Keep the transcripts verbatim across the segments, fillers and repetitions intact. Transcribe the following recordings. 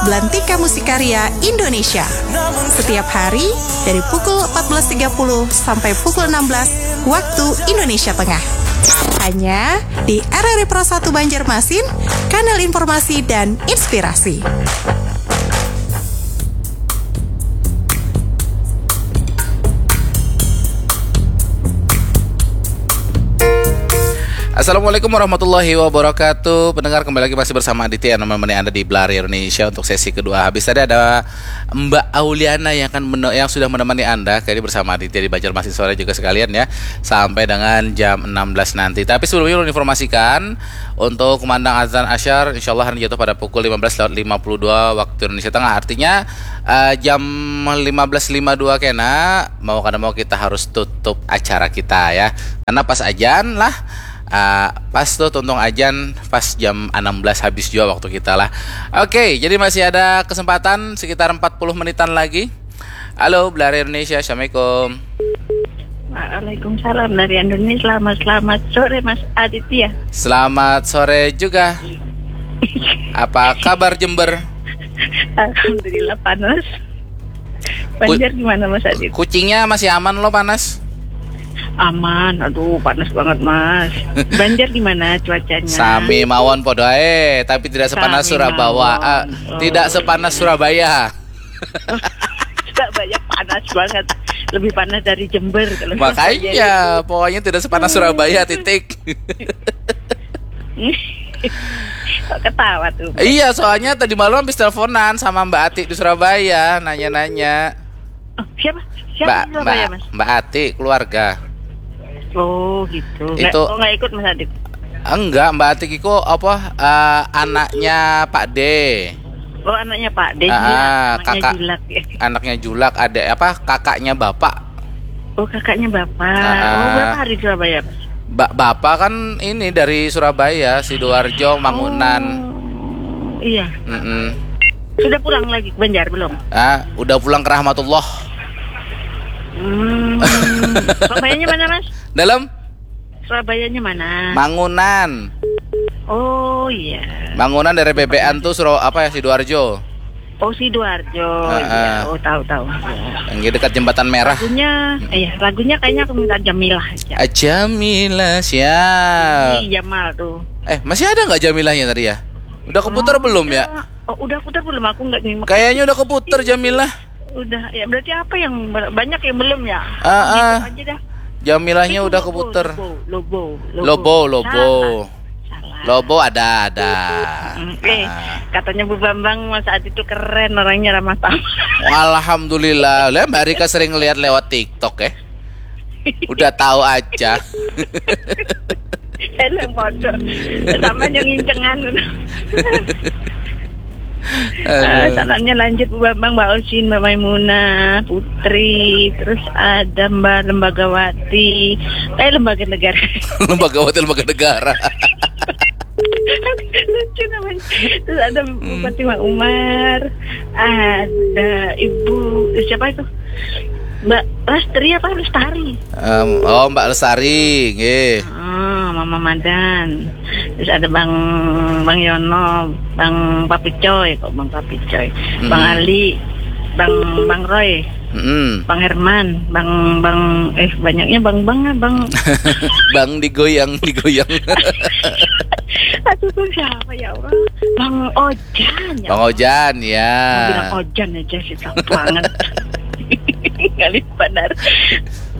Belantika Musik Karya Indonesia. Setiap hari dari pukul empat belas tiga puluh sampai pukul enam belas waktu Indonesia Tengah. Hanya di R R I Pro satu Banjarmasin, kanal informasi dan inspirasi. Assalamualaikum warahmatullahi wabarakatuh. Pendengar, kembali lagi masih bersama Aditya yang menemani Anda di Blari Indonesia untuk sesi kedua. Habis tadi ada Mbak Auliana yang akan mene- yang sudah menemani Anda kali bersama Aditya di Banjarmasin Sore juga sekalian ya, sampai dengan jam enam belas nanti. Tapi sebelumnya, ulun informasikan untuk kumandang azan asyar, insyaallah hari jatuh pada pukul lima belas lewat lima puluh dua waktu Indonesia Tengah. Artinya, eh, jam lima belas lima dua kena, mau kada mau kita harus tutup acara kita ya. Karena pas ajan lah, ah, pas tuh tuntung ajan pas jam enam belas habis jua waktu kita lah. Oke, jadi masih ada kesempatan sekitar empat puluh menitan lagi. Halo, Blari Indonesia, assalamualaikum. Waalaikumsalam dari Indonesia. Selamat, selamat sore, Mas Aditya. Selamat sore juga. Apa kabar Jember? Alhamdulillah, panas. Banjar gimana, Mas Adit? Kucingnya masih aman lo panas? Aman, aduh, panas banget, Mas. Banjar gimana cuacanya? Sami mawon podo ae, tapi tidak sepanas Surabawa. Ah, tidak sepanas Surabaya. Surabaya panas banget. Lebih panas dari Jember kalau Surabaya. Makanya, pokoknya tidak sepanas Surabaya, titik. Kok ketawa tuh? Iya, soalnya tadi malam habis teleponan sama Mbak Ati di Surabaya, nanya-nanya. Oh, siapa? Siapa Mbak, di Surabaya, Mbak, Mas? Mbak Ati, keluarga. Oh, gitu. Itu nggak, oh, nggak ikut, Mas Adit? Enggak, Mbak Ati iku apa, eh, anaknya Pak D. Oh, anaknya Pak D. Ah, anaknya kakak, Julak ya. Anaknya Julak, ada apa, kakaknya bapak. Oh, kakaknya bapak. Ah, oh, berapa hari di Surabaya, Mas? Ba- bapak kan ini dari Surabaya, Sidoarjo, Mangunan. Oh, iya. Mm-mm. Sudah pulang lagi ke Banjar belum? Ah, udah pulang ke rahmatullah. Hmm. Surabayanya mana, Mas? Dalam? Surabayanya mana? Mangunan. Oh, iya. Mangunan dari Bebean tuh, Suro apa ya, Sidoarjo. Oh, Sidoarjo. Heeh. Iya. Oh, tahu, tahu. Yang di dekat Jembatan Merah. Lagunya, iya, lagunya kayaknya aku minta Jamilah aja. Ah, Jamilah, siap. Ih, Jamal tuh. Eh, masih ada nggak Jamilahnya tadi ya? Udah keputar belum ya? Oh, udah putar belum? Aku nggak nyimak. Kayaknya udah keputar Jamilah. Udah, ya, berarti apa yang ber- banyak yang belum ya? Ah, ah. Aja dah. Jamilahnya udah keputar. Lobo, Lobo, Lobo. Lobo, Lobo. Salah. Salah. Lobo ada, ada. Mm, eh, ah. Katanya Bu Bambang, Mas Adit tuh keren, orangnya ramah tamah. Alhamdulillah. Lah, Mbak Rika sering lihat lewat TikTok ya. Udah tahu aja. Helm bodoh. Sama yang ngincengan. Aduh. Eh, salamnya lanjut Bu Bambang, Mbak Osin, Mbak Maimunah, Putri, terus ada Mbak Lembagawati, eh, Lembaga Negara. Lembagawati, Lembaga Negara. Lucu namanya. Terus ada Bupati Mak Umar, ada Ibu, siapa itu? Mbak Lestri apa Lestari? Em, oh, Mbak Lestari, nggih. Ah, Mama Madan. Terus ada Bang Bang Yono, Bang Papicoy, kok Bang Papicoy. Bang Ali, Bang Bang Roy, Bang Herman, Bang Bang eh banyaknya Bang Bang ah, Bang Bang digoyang, digoyang. Aduh, tuh siapa ya Allah? Bang Ojan ya. Bang Ojan, ya. Mau bilang Ojan aja sih, tahu banget. Ngalih benar.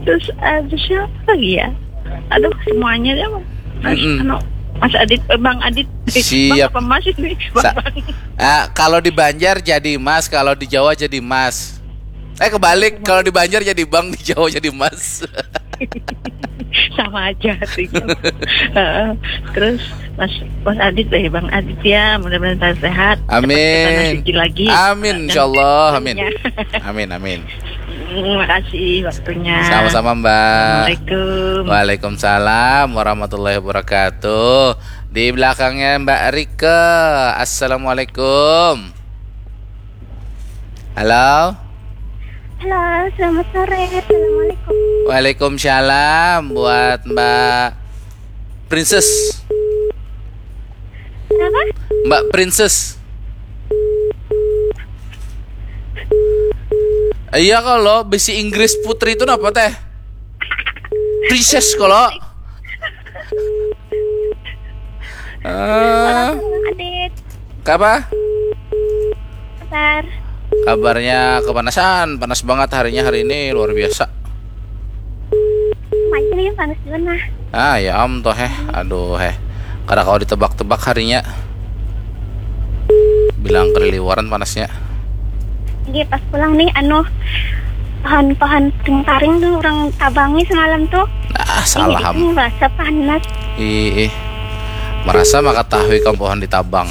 Terus ada siapa lagi ya? Aduh, semuanya ya. Mas, anu, Mas Adit, eh, Bang Adit. Eh, Bang apa Mas ini? Bang, Bang. Ah, kalau di Banjar jadi Mas, kalau di Jawa jadi Mas. Eh, kebalik, kalau di Banjar jadi Bang, di Jawa jadi Mas. Sama aja sih. Heeh. Terus Mas Mas Adit, eh, Bang Adit ya, mudah-mudahan tetap sehat. Amin. Cepat ke tanah suci lagi. Amin, insyaallah. Amin. Amin, amin. Terima kasih waktunya. Sama-sama, Mbak. Assalamualaikum. Waalaikumsalam warahmatullahi wabarakatuh. Di belakangnya Mbak Rike. Assalamualaikum. Halo. Halo, selamat sore. Assalamualaikum. Waalaikumsalam buat Mbak Princess. Kenapa? Mbak Princess. Iya, kalau bisi Inggris putri itu napa teh? Princess kalau. Eh, Adit, apa? Sar. Kabarnya kepanasan, panas banget harinya hari ini, luar biasa. Macam ini panas juga nah. Ah, ya om toh heh, aduh heh. Kada kau ditebak-tebak harinya. Bilang keliliwaran panasnya. Oke, pas pulang nih, anu, pohon-pohon taring tuh orang tabangi semalam tuh. Ah, salah am. Ini merasa panas. Ih, ih. Merasa maka tahu ikam pohon ditabang.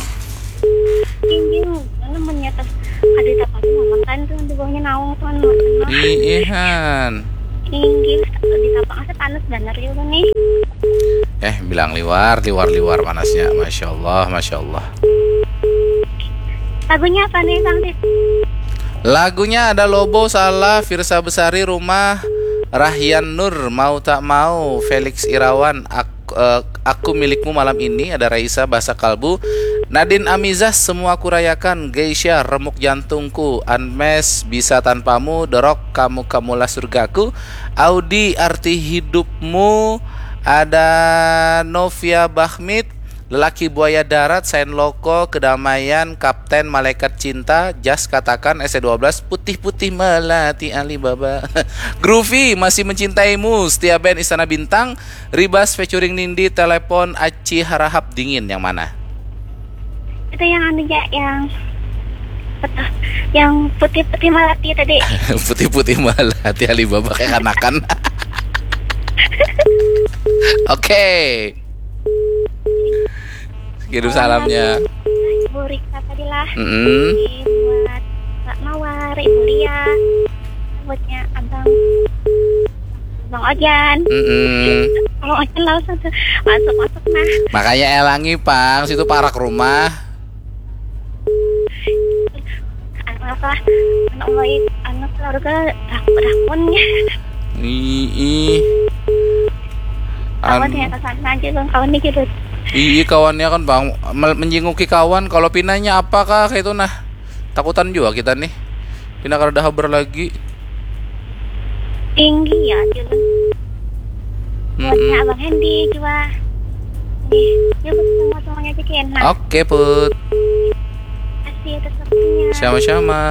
Tinggi, mana menyata. Ada apa tuh makan tuh di bawahnya naung tuh anu. Ih, ihan. Tinggi, di tapak asa panas bener juga nih. Eh, bilang liwar, liwar, liwar panasnya. Masya Allah, Masya Allah. Lagunya apa nih, Bang Tit? Lagunya ada Lobo, Salah, Firsa Besari, Rumah, Rahyan Nur, Mau Tak Mau, Felix Irawan, Aku, eh, Aku Milikmu Malam Ini, ada Raisa, Bahasa Kalbu, Nadine Amizah, Semua Kurayakan, Geisha, Remuk Jantungku, Unmesh, Bisa Tanpamu, Dorok, Kamu Kamulah Surgaku, Audi, Arti Hidupmu, ada Novia Bahmit, Lelaki Buaya Darat, Sain Loko, Kedamaian, Kapten, Malaikat Cinta, Jas Katakan, S C dua belas, Putih-Putih Melati Alibaba, Groovy, Masih Mencintaimu, Setia Band, Istana Bintang, Ribas featuring Nindi, Telepon, Aci Harahap, Dingin, yang mana? Itu yang anu ya, yang apa tuh? Yang putih-putih melati tadi. Putih-putih Melati Alibaba kayak kanakan. Oke. Kirim salamnya. Ibu Rika tadi lah. Mm-mm. Buat Kak Mawar, Ibu Lia, buatnya Abang Bang Ojan. Mm-mm. Bang Ojan langsung tuh masuk-masuk nah. Makanya elangi pang, situ parak rumah. Anu apa? Anu mulai anu keluarga rak rakun ya. Ih, Kawan anu. Ya, kesana aja bang, kawan nih gitu. Ih, kawannya kan bang mel- menjenguki kawan. Kalau pinanya apakah kayak itu nah? Takutan juga kita nih. Pina kada habar lagi. Tinggi ya, Jul. Buatnya Mm-mm. Abang Hendy juga. Nih, ya buat semua semuanya aja kena. Oke put. Kasih atas waktunya. Sama-sama.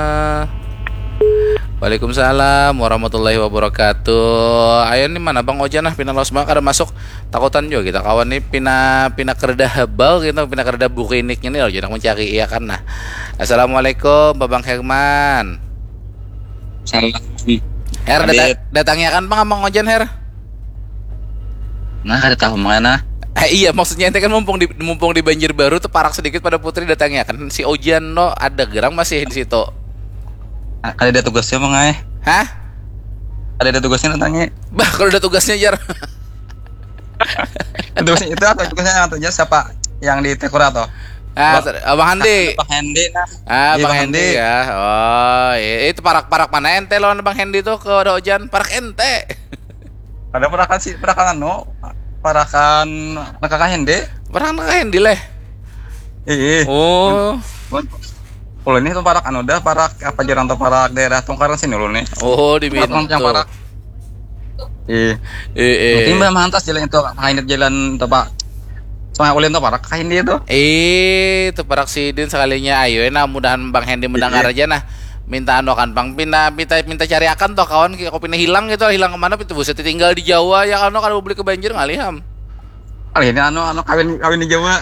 Waalaikumsalam warahmatullahi wabarakatuh. Ayo nih mana Bang Ojan nah, pina los banget kada masuk. Takutan juga kita kawan nih pina pina kereda hebal gitu, pina kereda bukiniknya nih loh, jangan mencari iya kan nah. Assalamualaikum Babang Herman. Salam. Her data, Adit. Datangi akan pang Bang Ojan Her. Nah, kada tahu mana. Eh, iya, maksudnya ente kan mumpung di mumpung di Banjarbaru tuh parak sedikit pada putri, datangi akan si Ojan no ada gerang masih di situ. Ah, kada ada tugasnya, Mang ai. Hah? Kada ada tugasnya, datangi. Bah, kalau ada tugasnya jar. Tugasnya itu atau tugasnya yang tugasnya siapa? Yang di Tekura tuh? Ah, Bang- Abang Handi. Bang Handi nah. Ah, Iya, Bang Bang Handi Handi. Ya. Oh, iya. Itu parak-parak mana ente lawan Bang Handi tuh ke ada Ojan? Parak ente. Ada perakan sih, perakan anu, perakan nakaka Handi. Parak nakaka Handi leh. Iya. Oh. Kalau ini tuh parak anu dah, parak apa jarang tuh, parak daerah Tungkaran sini dulu nih. Oh, di Parak yang Minto. Parak. Iya. Eh, eh. Mungkin bah mantas jalan itu, Handi jalan tuh, Pak. Sungai Ulin tuh parak Handi itu. Eh, itu parak sidin sekalinya. Ayo, nah mudahan Bang Hendi mendengar Iya. Aja nah. Minta anu kan Bang, minta minta minta cari akan toh kawan, aku pina hilang gitu, hilang kemana itu buset tinggal di Jawa ya kan, kalau beli ke banjir ngalih am. Kali ini anu anu kawin kawin di Jawa.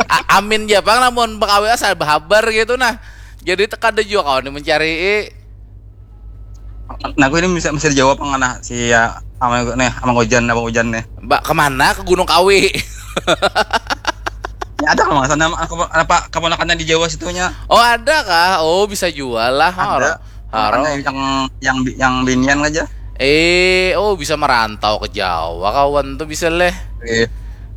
A- Amin ja Bang, namun bekawi asal berhabar gitu nah. Jadi tekada juga kawan mencari. Nah, aku ini bisa masih di Jawa pang nah si ya ama nih ama Ojan, ama Ojan nih. Mbak kemana, ke Gunung Kawi? Ya ada kalau nggak salah nama apa, apa keponakannya di Jawa situnya. Oh ada kah? Oh bisa jual lah. Ada. Haro. Makanya yang yang yang binian aja. Eh, oh bisa merantau ke Jawa kawan tuh bisa leh. Eh,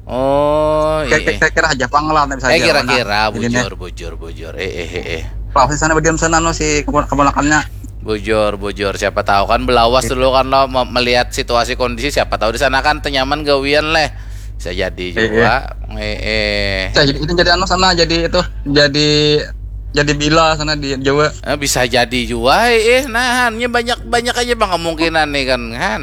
Oh iya. Kira-kira aja pang lah, bisa Eh aja, kira-kira mana? Jadi bujur bujur bujur. Eh eh eh. eh. Kalau di sana berdiam sana no si kepon- keponakannya. Bujur bujur, siapa tahu kan belawas dulu kan lo me- melihat situasi kondisi, siapa tahu di sana kan tenyaman gawian leh, bisa jadi juga. Eh eh. Saya jadi itu jadi anu sana jadi itu jadi Jadi bila sana di Jawa. Eh, bisa jadi juga, eh, nah, hanya banyak banyak aja bang kemungkinan nih kan, kan.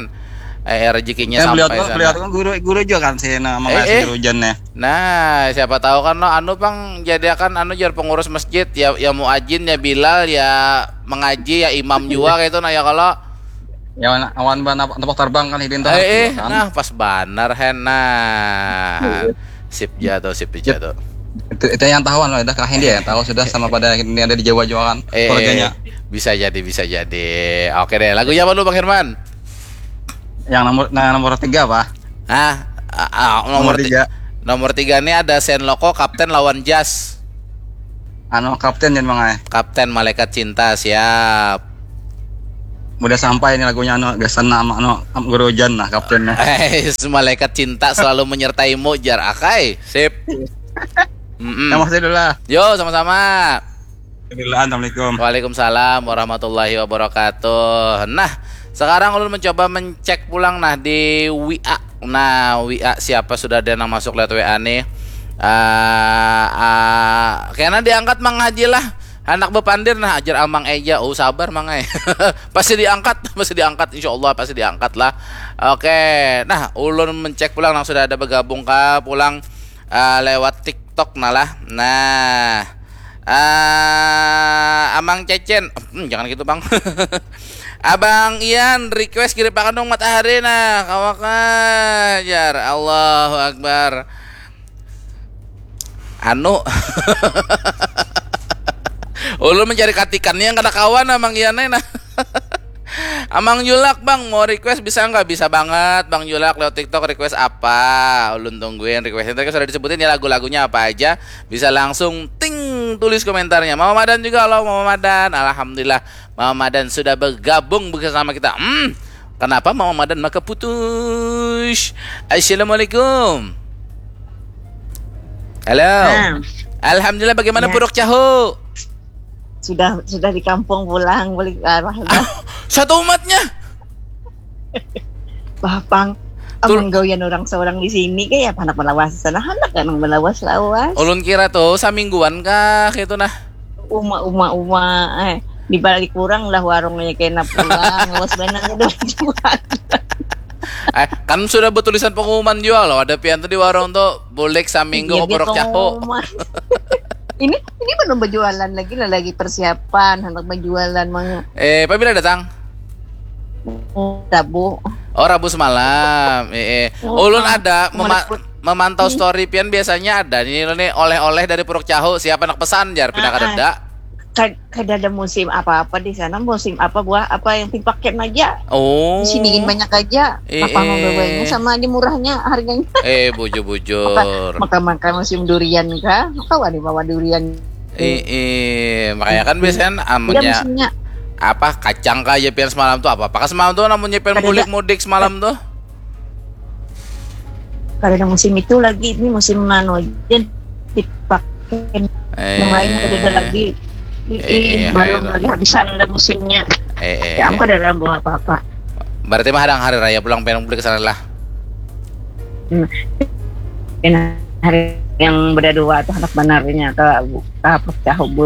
Eh, rezekinya Saya melihat sampai kan, sana. Melihat kan guru guru juga kan si nama Eh, eh. Guru Jan ya. Nah, siapa tahu kan lo anu pang jadi akan anu jar pengurus masjid ya, ya muajin ya bilal ya mengaji ya imam juga kayak itu nah ya kalau Ya awan ban apa tepuk terbang kan hidin tuh eh, eh kan. Nah pas banar hen nah sip jatuh sip jatuh Itu, itu yang tahu loh, udah kerahin dia yang tahu sudah sama pada ini ada di Jawa juga kan eh, keluarganya. Bisa jadi bisa jadi. Oke deh, lagunya apa lu bang Herman? Yang nomor nah, nomor tiga apa? Nah, ah, ah, nomor Nomor ti- tiga. Nomor tiga nih ada Sen Loko Kapten lawan Jas. Anu kapten Jan Mangai. Kapten Malaikat Cinta siap. Udah sampai ini lagunya anu gasan nama anu Guru Jan nah kaptennya. Eh, malaikat cinta selalu menyertaimu jar akai. Sip. Mm-mm. Yang masih dulu lah. Yo, sama-sama. Bismillah, assalamualaikum. Waalaikumsalam warahmatullahi wabarakatuh. Nah, sekarang ulun mencoba mencek pulang nah di W A. Nah, W A siapa sudah ada yang masuk lewat W A nih. Ah, ah, kena diangkat Mang Haji lah. Anak bepandir nah ajar amang eja. Oh sabar mang eh. Pasti diangkat, pasti diangkat insyaallah pasti diangkat lah. Oke, nah ulun mencek pulang nang sudah ada bergabung ka pulang ah, lewat TikTok nah lah. Nah, ah, Amang Cecen, hmm, jangan gitu bang. Abang Ian request kiripakan dong matahari nah kawaka jar Allahu Akbar. Anu ulun mencari katikannya yang kada kawan Amang Ian nah. Amang Julak bang mau request bisa nggak? Bisa banget Bang Julak lewat TikTok request apa? Ulun tungguin requestnya tadi sudah disebutin ya lagu-lagunya apa aja. Bisa langsung ting tulis komentarnya. Mama Madan juga halo Mama Madan. Alhamdulillah Mama Madan sudah bergabung bersama kita. Hmm, kenapa Mama Madan maka putus? Assalamualaikum. Halo. Nah, Alhamdulillah bagaimana Ya. Puruk Cahu? Sudah sudah di kampung pulang balik arah dah. Satu umatnya. Bah pang Tul- Amang gawian orang seorang di sini kayak anak melawas sana anak kan melawas lawas. Ulun kira tuh samingguan kah gitu nah. Uma uma uma eh di balik kurang lah warungnya kena pulang lawas benar udah jual. Eh, kan sudah bertulisan pengumuman juga loh. Ada pian tuh di warung tuh bulik saminggu Iya, ke Puruk dia Cahu. pengumuman. Ini ini belum berjualan lagi lah lagi persiapan hendak berjualan mah. Eh, pabila datang? Rabu. Oh, Rabu semalam. Eh, eh. Oh, Ulun ah, ada mema- meliput. Memantau story pian biasanya ada nih lo nih oleh-oleh dari Puruk Cahu siapa nak pesan jar pindah Ah, kada ah. Kad- kada ada musim apa-apa di sana musim apa buah apa yang dipakai aja Oh. Di sini banyak aja Eh, apa mau eh. Bawanya sama aja murahnya harganya. Eh, bujur-bujur. Maka maka musim durian kah? Kau ada bawa durian. Eh, eh, makanya kan biasanya Udah amunnya musimnya. Apa kacang kah aja pian semalam tuh apa? Apakah semalam tuh namunnya pian Kada ada. Mudik-mudik semalam tuh? Karena musim itu lagi ini musim anu aja dipakai Eh. Yang lain kada ada lagi. Eh, eh, Ih, baru ayo. Lagi habisan ada musimnya. Eh, eh. Ya aku kada ada bawa apa-apa. Berarti mah ada hari raya pulang pian Mudik ke sana lah. Hmm. Dan hari yang berdua tuh anak benarnya ke ke apa tahu bu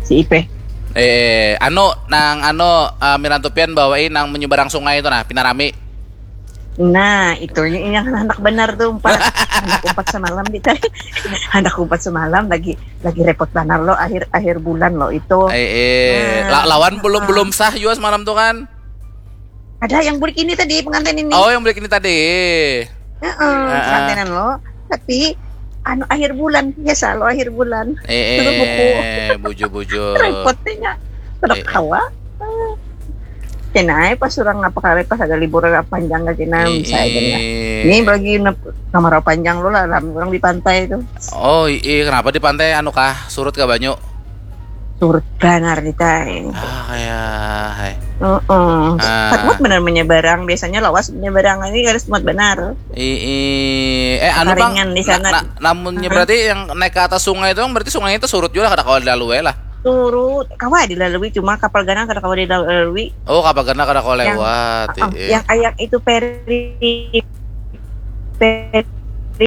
si Ipe. Eh, anu nang anu eh, mirantu pian bawai nang menyeberang sungai itu nah, pina rami. Nah, itu yang anak benar tuh empat. Anak empat semalam di tadi. Anak empat semalam lagi lagi repot benar lo akhir akhir bulan lo itu. Eh, eh, Nah, la- lawan belum ah. Belum sah juga semalam tuh kan. Ada yang bulik ini tadi pengantin ini. Oh, yang beli ini tadi. Heeh, Ah, ah. pengantinan lo. Tapi anu akhir bulan biasa lo akhir bulan. Eh, Tutup buku. eh, bujur-bujur. Repotnya. Kada Eh, eh. Kawa. Kena aja pas orang apa kali pas ada libur panjang ke sini Ii. Misalnya kena. Ini bagi nep- kamar panjang lo lah ram orang di pantai itu. Oh, iya, kenapa di pantai anu kah? Surut kah banyu? Surut benar di tai. Ah, kayak hai. Heeh. Ah. Semut benar menyeberang biasanya lawas menyeberang ini kada semut benar. Ii, eh anu bang, Karingan di sana. Na- na- namunnya Hah? Berarti yang naik ke atas sungai itu berarti sungai itu surut juga kada kawa dilalui lah. Surut, kawa dilalui cuma kapal ganal kada kawa dilalui. Oh, kapal ganal kada kawa Yang- lewat. Ah, Ii. yang ayak itu peri peri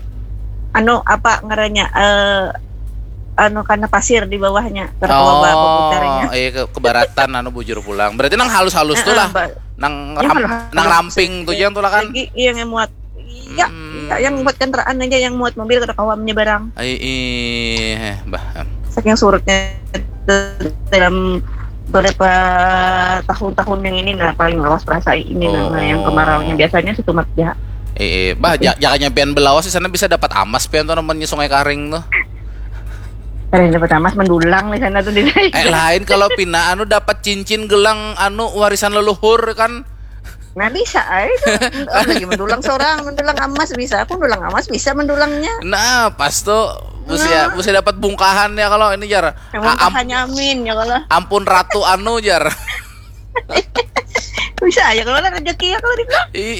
anu apa ngarannya eh anu karena pasir di bawahnya, kada kawa ba- baputarnya. Oh, iya ke, kebaratan anu bujur pulang. Berarti nang halus-halus tu Heeh, lah. ba- Nang Yang ram, halus-halus. Nang ramping tu jar tu lah kan. Lagi iya yang muat. Iya, Hmm. iya, yang buat kendaraan aja, yang muat mobil kada kawa menyeberang. Ai ih, bah. Saking surutnya dalam beberapa tahun-tahun yang ini, nah, paling lawas perasa ini, Oh, nah, yang oh. Kemarau yang biasanya setumat ya. Eh, eh, bah, ja- jangan nyampean belawas di sana, bisa dapat amas pian tuh namanya Sungai Karing tuh. Kada dapat amas, mendulang di sana tuh di Eh, lain kalau pina anu dapat cincin gelang anu warisan leluhur kan. Nah, bisa ai itu. Oh, lagi mendulang seorang, mendulang amas bisa. Aku mendulang amas bisa mendulangnya. Nah, pas tuh mesti ya, mesti dapat bungkahan ya kalau ini jar. Yang A- am- hanya amin ya kalau. Ampun ratu anu jar. Bisa aja kalau ada rezeki ya kalau dibilang. Ih,